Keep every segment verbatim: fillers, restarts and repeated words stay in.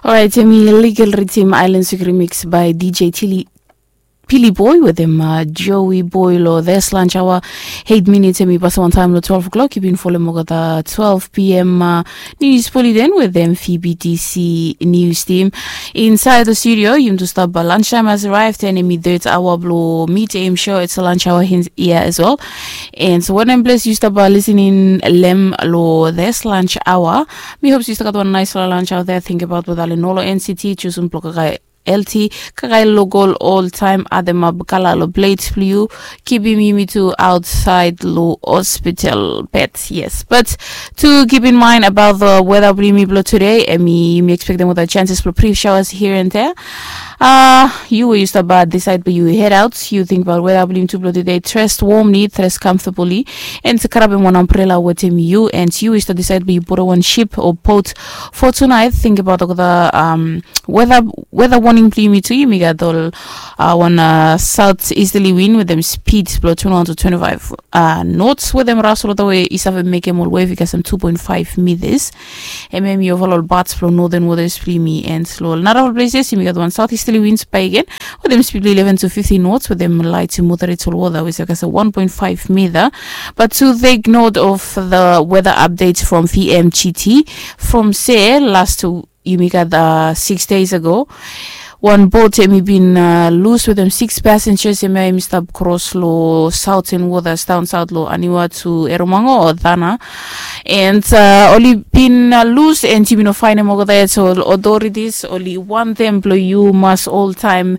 Orait, yumi legal ritim Island Suk remix by D J Tilly Pili Boy wetem uh, Joey Boy lo this lunch hour. Eight minutes yumi pass on time lo twelve o'clock. Yumi follow mo kata twelve p.m. Uh, news bulletin wetem P B T C news team. Inside the studio, yumi tu stop uh, lunchtime has arrived and yumi third hour blo meet aim show. It's a lunch hour here as well. And so when I'm blessed, you stop uh, listening lem lo this lunch hour. Mi hope you stop got one nice little lunch out there. Think about what Alinolo N C T, choosing block L T, kakae lokol ol taem ademap kala lo plate blong yu, kipim yumi tu aotsaed lo hospital bed. Yes, but tu keep in mind about the weather blong yumi blong today, hemi yumi expectem olgeta chances blong brief showers here and there. Uh, yu we yu stap disaed blong yu head out, yu tingbaot weather blong yumi tu blong today, dressed warmly, dressed comfortably, and karabem wan umbrella wetem yu, and yu we yu stap disaed blong yu borrow wan ship o boat for tonight, tingbaot olgeta um, weather weather warning blong yumi tu, yumi gat ol uh, wan uh, south easterly wind wetem speed blong twenty-one to twenty-five uh, knots wetem ras olgeta we i save mekem ol wave i kasem two point five meters. Hemia hemi oval ol parts blong northern waters blong yumi, and lo ol narafala places yumi gat wan south easterly winds bakegen wetem speed blong eleven to fifteen knots wetem light to moderate ol wota we save kasem one point five meter. But to take note of the weather update from P M G T, from se last yumi gat uh, six days ago, wan boat hemi bin uh, lus wetem six passengers, hemia hemi stap kros lo southern waters down south lo Aniwa to Erromango o Tanna. And uh, oli bin uh, lus and yumi no faenem olgeta yet, so authorities oli wantem blong yu mas oltaem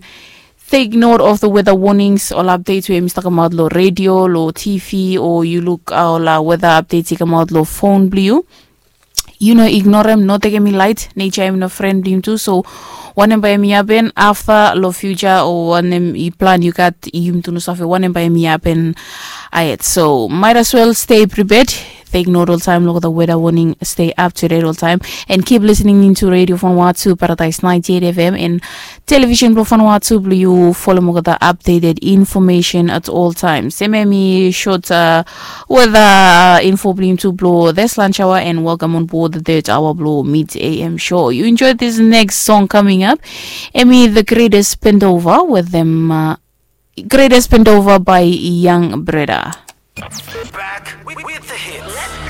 take note of the weather warnings, ol updates we hemi stap kamaot lo radio, lo T V, o yu luk uh, ol uh, weather updates i kamaot lo phone blong yu. Yu no ignorem, no tekem i laet. Nature hemi no fren blong yumi tu, so wanem bae hemi hapen afta lo future o wanem i plan yu gat, yumi tu no save wanem bae hemi hapen ahed. So might as well stay prepared. Take note oltaem lo olgeta weather warning, stay up to date oltaem, and keep listening into Radio Vanuatu Paradise ninety-eight F M and television blong Vanuatu blong yu folem olgeta updated information at all times. Hemia hemi short uh, weather uh, info blong yumi tu blong this lunch hour, and welcome on board the third hour blong Mid A M show. You enjoy this next song coming up. Hemi The Greatest Bend Over wetem uh, Greatest Bend Over by Young Breda. Back with, with the hits.